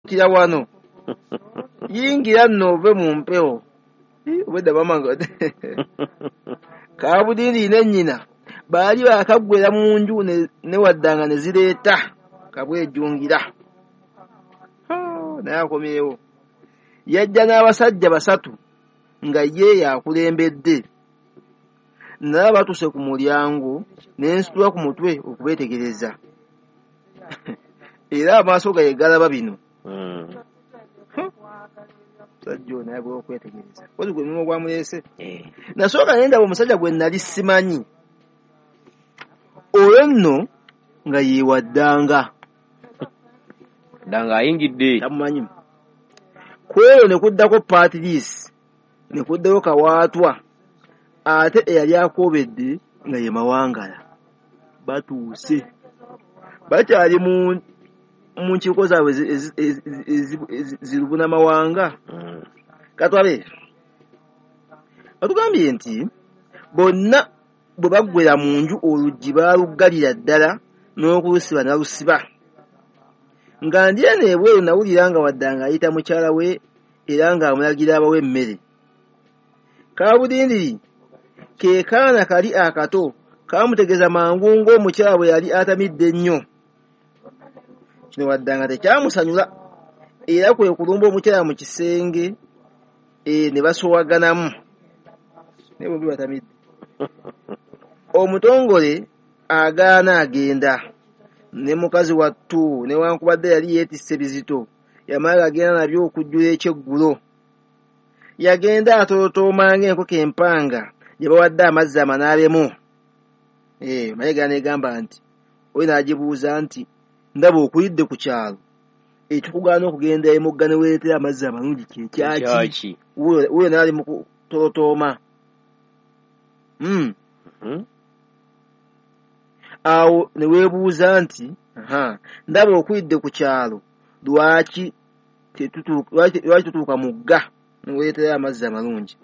Kira wano yingira nno ove mu mpewo. Obwedda bamanga Kabudindi ne nnyina baali baakaggwera mu nju ne Waddanga ne zireeta Kabwejungira. Naye akomyewo, yajja n'abasajja basatu nga ye yakulembedde. Nalaba batuuse ku mulyango ne nsitula ku mutwe okubeetegereza, era amaaso gange galaba bino. Musajja ono ayagala okwetegereza, kozi gwe mulimu gwamuleese. Nasooka ne ndaba omusajja gwe nali simanyi, oyo nno nga ye Waddanga. Ddanga ayingidde. Tamumanyi. Ku eyo ne kuddako Patrice, ne kuddako Kawaatwa, ate eyali akoobedde nga ye Mawangala. Batuuse bakyali mu nkiiko zaabwe zirubunamawanga. Katwabe batugambye nti bonna bwe baggwera mu nju oluggi baaluggalira ddala n'okulusiba n'alusiba. Nga ndi eno ebweru nawulira nga Waddanga ayita mukyala we era ng'amulagira abawe emmere. Kabudindiri ke kaana kali akato kaamutegeeza mangu ng'omukyala bwe yali atamidde ennyo. Kino Waddanga tekyamusanyula era kwe kulumba omukyala mu kisenge ne basowaganamu, naye bombi batamidde. Omutongole agaana agenda ne mukazi wattu, newankubadde yali yeetisse bizito, yamala agenda nabyo okujjula ekyeggulo. Yagenda atootooma ng'enkoko empanga gye bawadde amazzi amanaabemu. Mayiga n'egamba nti oyo n'agibuuza nti ndaba okulidde ku kyalo, ekikugaana okugenda emugga ne weereetera amazzi amalungi kye kyaki? Wuuyo n'ali mu kutootooma. Awo ne weebuuza nti ndaba okulidde ku kyalo, lwaki tutuuka mugga ne weereetera amazzi amalungi?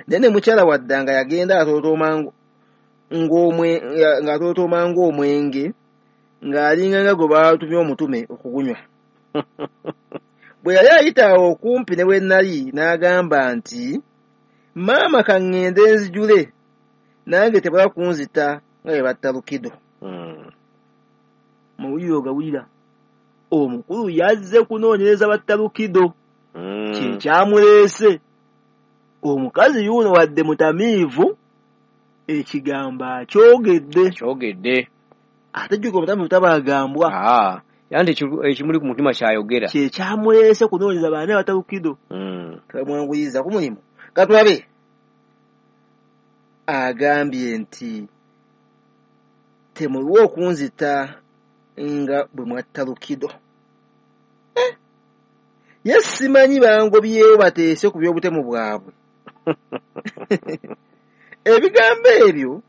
Naye ne mukyala Waddanga yagenda ng'atotooma ng'omwenge, ng'alinga nga gwe baatumye omutume okugunywa. Bwe yali ayita awo okumpi ne we nali n'agamba nti maama ka ŋŋende nzijule, nange tebala kunzita nga bwe batta Lukido. Mawulire ogawulira, omukulu yazze kunoonyereza batta Lukido, kye kyamuleese. Omukazi yuno wadde mutamiivu, ekigambo akyogedde. Kyogedde. Ate jjuka omutamiivu tabaagambwa. Anti ekimuli ku mutima kyayogera. Kye kyamuleese kunoonyereza baani abatta Lukido. Tebamwanguyiza ku mulimu. Katulabe agambye nti temulwa okunzita nga bwe mwatta Lukido. Ye simanyi bangobyewo bateese ku by'obutemu bwabwe. Ebigambo ebyo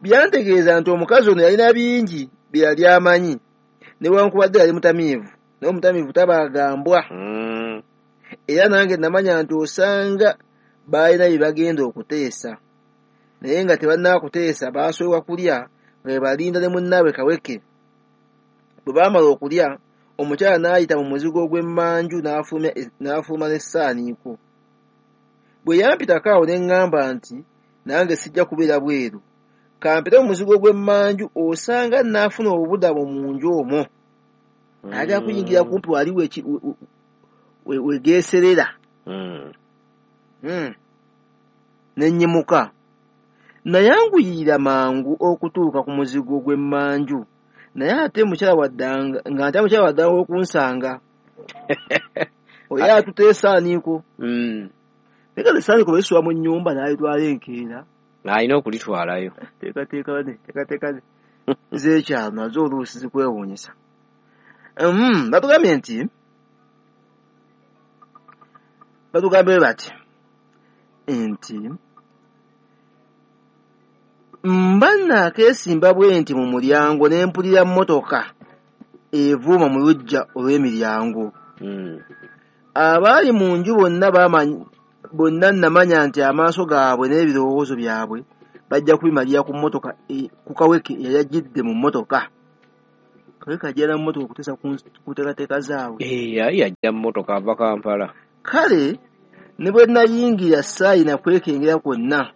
byantegeeza nti omukazi ono yalina bingi bye yali amanyi, newankubadde yali mutamiivu, naye omutamiivu tabaagambwa. Era nange namanya nti osanga baalina bye bagenda okuteesa, naye nga tebannaakuteesa baasooka kulya nga bwe balinda ne munnaabwe Kaweke. Bwe baamala okulya, omukyala n'ayita mu muzigo ogw'emmanju n'afuluma n'essaaniiko. Bwe yampitako awo ne ŋŋamba nti nange sijja kubeera bweru, kampite mu muzigo gw'emmanju osanga nnaafuna obubudamo mu nju omwo. Ayagala kuyingira kumpi wali wegeeserera. Ne nnyimuka. Nayanguyirira mangu okutuuka ku muzigo gw'emmanju, naye ate mukyala Waddanga nga ate mukyala Waddanga okunsanga. Oyo atutte essaaniiko. Naye kati essaaniiko bwe lisula mu nnyumba n'alitwala enkeera. Alina okulitwalayo. Teekateeka z'ekyalo nazo oluusi zikwewuunyisa. Batugambye nti batugambye bati nti mba naakeesimba bwe nti mu mulyango ne mpulira mmotoka evuuma mu luggya olw'emiryango. Abaali mu nju bonna namanya nti amaaso gaabwe n'ebirowoozo byabwe bajja kubimalira ku mmotoka ku Kaweke eyali ajjidde mu mmotoka. Kabeka ajja na mmotoka okuteesa ku nteekateeka zaabwe. Yali ajja mmotoka ava Kampala. Kale ne bwe nayingira saayina kwekengera kwonna.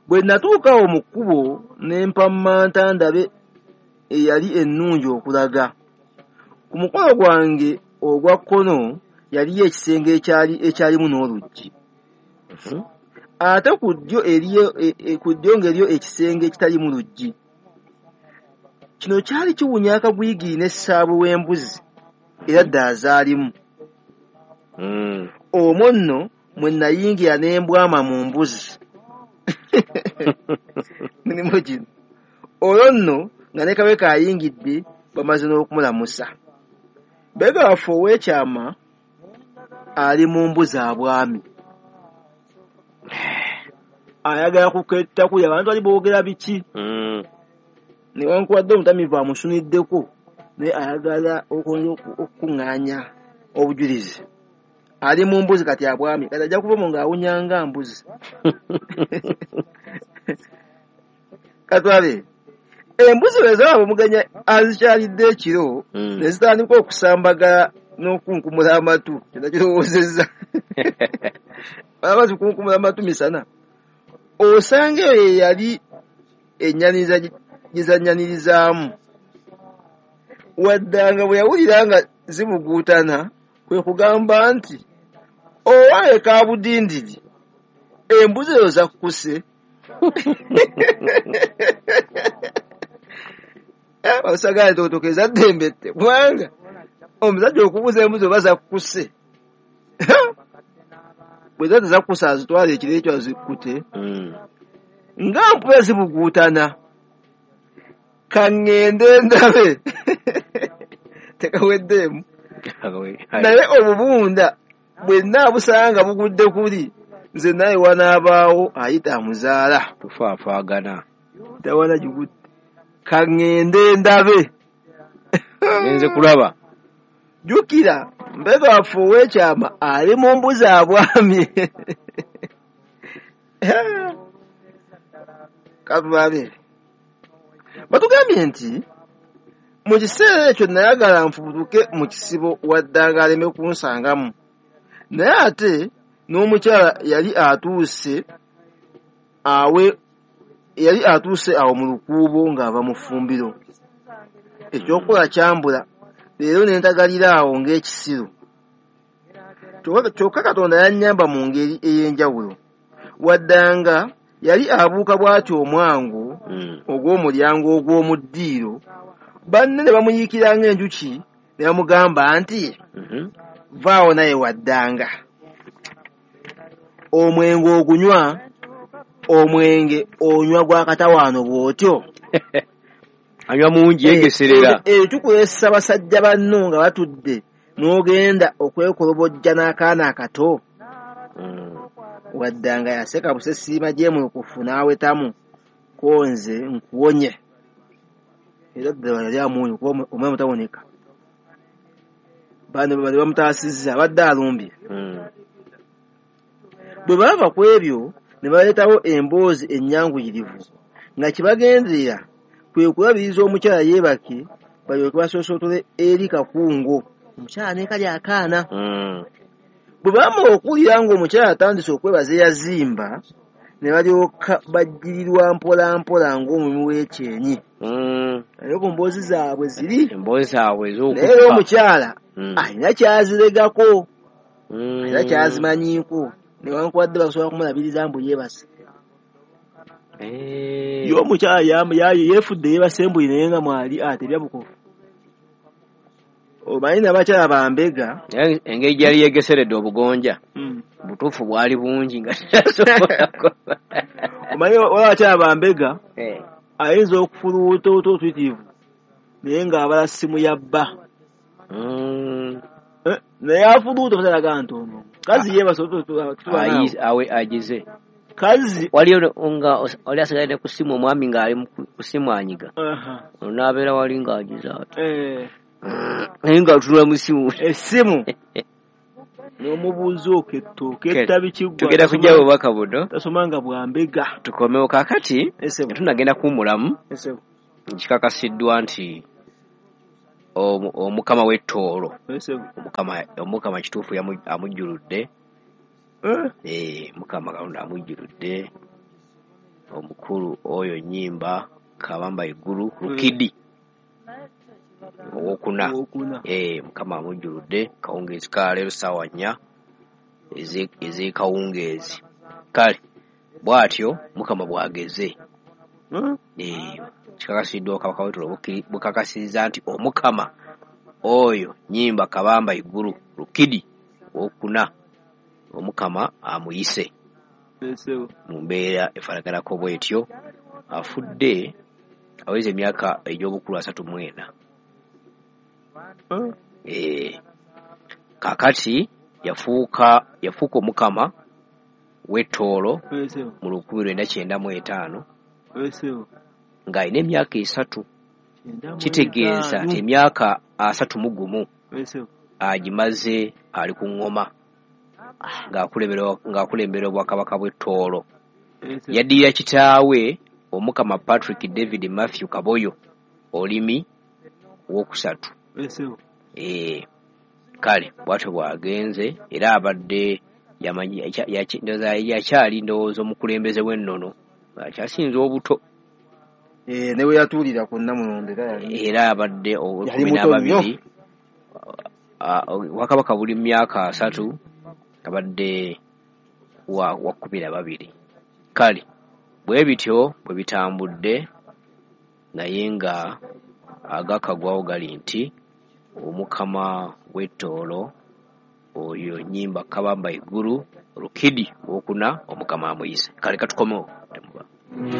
Bwe natuuka awo mu kkubo ne mpammanta ndabe eyali ennungi okulaga. Ku mukono gwange ogwa kkono yaliyo ekisenge ekyalimu n'oluggi. Ate ku ddyo ng'eriyo ekisenge ekitaliimu luggi. Kino kyali kiwunya akagwigiri n'essaabwe w'embuzi era ddala zaalimu. Omwo nno mwe nayingira ne mbwama mu mbuzi. Mirimu gino. Olwo nno nga ne Kabeka ayingidde bamaze n'okumulamusa. Mbega waffe ow'ekyama ali mu mbuzi abwami. Ayagala kuketta kulya abantu bali boogera biki. Newankubadde omutamiivu amusuniddeko naye ayagala okukuŋŋaanya obujulizi. Ali mu mbuzi kati abwami, kati ajja kuva mu ng'awunya nga mbuzi. Katwale embuzi bwe zalaba omugenyi azikyalidde ekiro ne zitandika okusambagala n'okunkumula amatu, kyonna kirowoozezza. Balaba zikunkumula amatu misana. Osanga eyo ye yali ennyaniriza gye zannyanyirizaamu. Waddanga bwe yawulira nga zibuguutana kwe kugamba nti owange Kaabudindiri embuzi ezo zakkuse. Basagala tootoka ezadde embette kubanga omusajja okubuuza embuzi oba zakkuse. Bwe ziba tezakkuse azitwala ekiro ekyo azikkute. Nga mpula zibuguutana ka ŋŋende ndabe tekaweddeemu. Naye obubunda bwe nnaabusanga bugudde kuli nze naye wanaabaawo ayita amuzaala. Tufaafaagana. Tawana gigudde. Ka ŋŋende ndabe. Ngenze kulaba. Jjukira mbega waffe ow'ekyama ali mu mbuzi abwamye. Katulabe. Batugambye nti mu kiseera ekyo nayagala nfubutuke mu kisibo waddanga aleme kunsangamu. Naye ate n'omukyala yali atuuse awo mu lukuubo ng'ava mu ffumbiro. Ekyokukola kyambula leero ne ntagalira awo ng'ekisiru. Kyokka Katonda yannyamba mu ngeri ey'enjawulo. Waddanga yali abuuka bw'atyo omwango ogw'omulyango ogw'omu ddiiro, banne ne bamuyiikira ng'enjuki ne bamugamba nti vaawo naye waddanga. Omwenge ogunywa, omwenge onywa gwa katawaano bw'otyo. Anywa mungi yegeserera. Tukwesa basajja banno nga batudde n'ogenda okwekolobojja n'akaana akato. Waddanga yaseka busesiima gyemulukufu n'awetamu ko nze nkuwonye. Era ddala yali amuwonye kuba omulamu tawoneka. Bano bali bamutaasizza abadde alumbye. Bwe baava ku ebyo ne baleetawo emboozi ennyanguyirivu nga kibagenderera kwe kulabiriza omukyala yeebake balyoke basosootole eri Kakungo. Omukyala ne kali akaana. Bwe baamala okuwulira ng'omukyala atandise okwebaza eyazimba ne balyoka bajjirirwa mpola mpola ng'omumwi w'ekyenyi. Naye ku mboozi zaabwe ziri. Emboozi zaabwe ez'okuffa. Naye era omukyala alina ky'aziregako. Alina ky'azimanyiiko. Newankubadde basobola kumulabiriza mbu yeebase. Ye omukyala yeefudde yeebase mbu naye nga mwali atebya bukofu. Omanyi n'abakyala bambega. Engeri gyali yeegeseredde obugonja butuufu bwali bungi nga tasobola. Omanyi waliwo abakyala bambega ayinza okufuluuta otuyitirivu naye ng'abala ssimu ya bba. Naye afuluuta omusajja aga nti ono kazi yeebase agize. Kazi waliyo nga oli asigadde ku ssimu omwami ng'ali ku ssimu anyiga. N'abeera wali ng'agize ati. Naye ng'atunula mu ssimu. Essimu. N'omubuuza oketta oketta biki ggwe. Tugenda kujja bubaka buno. Tasoma nga bwa mbega. Tukomewo kaakati tunagenda kuwummulamu. Kikakasiddwa nti Omukama w'Ettoolo, Omukama kituufu amujjuludde. Mukama Katonda amujjuludde omukulu oyo Nyimba Kabamba Iguru Rukidi owokuna. Mukama amujjuludde kawungeezi ka leero ssaawa 4 ez'ekawungeezi. Kale bw'atyo Mukama bw'ageze. Kikakasiddwa Kabaka w'Ettoolo bukakasizza nti Omukama oyo Nyimba Kabamba Iguru Rukidi owokuna Omukama amuyise mu mbeera efaanaganako bw'etyo. Afudde aweza emyaka egy'obukulu 34. Kaakati yafuuka Omukama w'Ettoolo mu 1995 ng'alina emyaka 3. Kitegeeza nti emyaka 31 agimaze ali ku ŋŋoma ng'akulembera obwakabaka bw'Ettoolo. Yaddirira kitaawe Omukama Patrick David Matthew Kaboyo Olimi owokusatu. Kale bw'atyo bw'agenze, era abadde yakyali ndowooza omukulembeze w'ennono akyasinze obuto. Ne we yatuulira ku Nnamulondo era abadde 12. Obwakabaka buli myaka 3, abadde wa 12. Kale bwe bityo bwe bitambudde, naye nga agakagwawo gali nti Omukama w'Ettoolo oyo Nyimba Kabamba Iguru Rukidi owokuna Omukama amuyise. Kale katukomewo.